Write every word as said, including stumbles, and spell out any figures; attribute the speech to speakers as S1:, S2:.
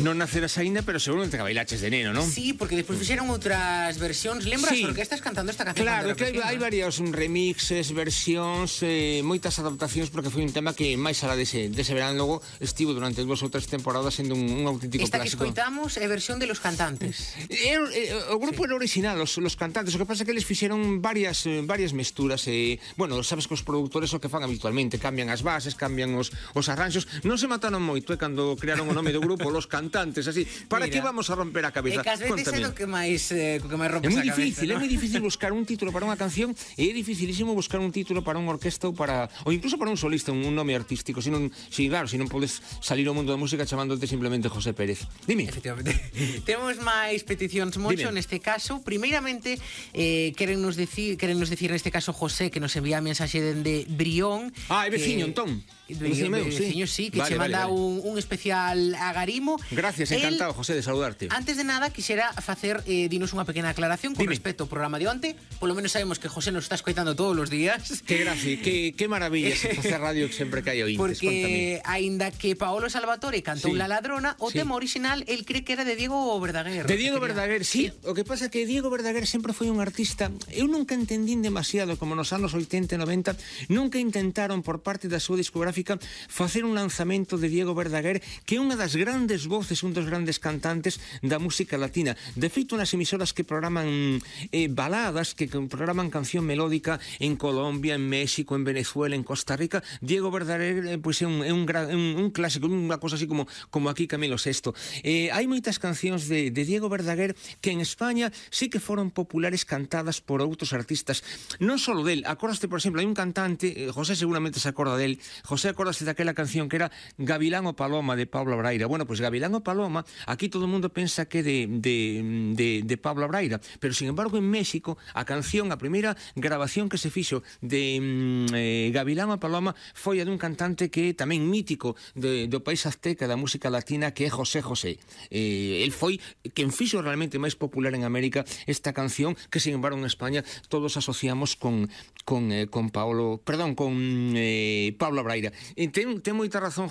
S1: Non naceras aínda, pero seguramente que bailaches de neno, non?
S2: Sí, porque despois fixeron outras versións. Lembras
S1: Sí.
S2: as orquestas cantando esta canción?
S1: Claro,
S2: cando
S1: que
S2: era
S1: hai,
S2: pequeno,
S1: hai
S2: eh?
S1: varios remixes, versións, eh, moitas adaptacións, porque foi un tema que máis alá dese, dese verán logo estivo durante dúas ou tres temporadas sendo un, un auténtico
S2: Esta que
S1: clásico.
S2: escoitamos é versión de Los Cantantes.
S1: Era, eh, o grupo era original, os, los cantantes. O que pasa é que eles fixeron varias eh, varias mesturas e, eh, bueno, sabes que os produtores o que fan habitualmente cambian as bases, cambian os, os arranxos. Non se mataron moito, eh, cando crearon o nome do grupo, Los Cantantes, así. Para
S2: Mira,
S1: que vamos a romper a cabeza?
S2: E que ás veces é do que máis eh, que máis
S1: É
S2: rompes
S1: moi
S2: a cabeza,
S1: difícil,
S2: ¿no?
S1: é moi difícil buscar un título para unha canción e é dificilísimo buscar un título para unha orquesta ou para ou incluso para un solista, un, un nome artístico. Si non, si claro, si non podes salir ao mundo da música chamándote simplemente José Pérez. Dime.
S2: Efectivamente. Temos máis peticións, Moncho,
S1: Dime.
S2: neste caso. Primeiramente, eh, querennos decir, querennos decir neste caso José, que nos envía a mensaxe dende Brión.
S1: Ah, é
S2: que-
S1: veciño, entón.
S2: Veciño,
S1: Veciño meu, sí.
S2: veciño, sí, que
S1: Vale,
S2: che
S1: vale,
S2: manda
S1: vale.
S2: Un, un especial a Garimo.
S1: Gracias,
S2: El,
S1: encantado, José, de saludarte.
S2: Antes de nada, quixera facer, eh, dinos unha pequena aclaración con
S1: Dime.
S2: respecto ao programa de onte. Polo menos sabemos que José nos está escoitando todos os días.
S1: Que gracia, que, que maravilla se facer radio sempre que hai ointes.
S2: Porque, aínda que Paolo Salvatore cantou
S1: Sí.
S2: La Ladrona, o
S1: Sí.
S2: tema original el cree que era de Diego Verdaguer.
S1: De Diego
S2: Que quería-
S1: Verdaguer, sí. O que pasa é que Diego Verdaguer sempre foi un artista. Eu nunca entendín demasiado, como nos anos oitenta e noventa, nunca intentaron por parte da súa discográfica facer un lanzamento de Diego Verdaguer, que é unha das grandes voces, un dos grandes cantantes da música latina. De feito, nas emisoras que programan eh, baladas, que programan canción melódica en Colombia, en México, en Venezuela, en Costa Rica, Diego Verdaguer eh, pois é un, é un, gran, un, un clásico, unha cosa así como, como aquí Camilo sexto. Eh, hai moitas cancións de, de Diego Verdaguer que en España sí que foron populares cantadas por outros artistas. Non só del, acordaste, por exemplo, hai un cantante, eh, José seguramente se acorda del, José acordaste daquela canción que era Gavilán o Paloma de Pablo Abraira. Bueno, pois pues Gavilán o Paloma, aquí todo o mundo pensa que de, de, de, de Pablo Abraira, pero sin embargo en México a canción, a primeira grabación que se fixo de mm, eh, Gavilán o Paloma foi a dun cantante que é tamén mítico de, do país azteca da música latina, que é José José. Eh, el foi quen fixo realmente máis popular en América esta canción, que sin embargo en España todos asociamos con con, eh, con Paolo, perdón, con eh, Pablo Abraira. E ten, ten moita razón, José,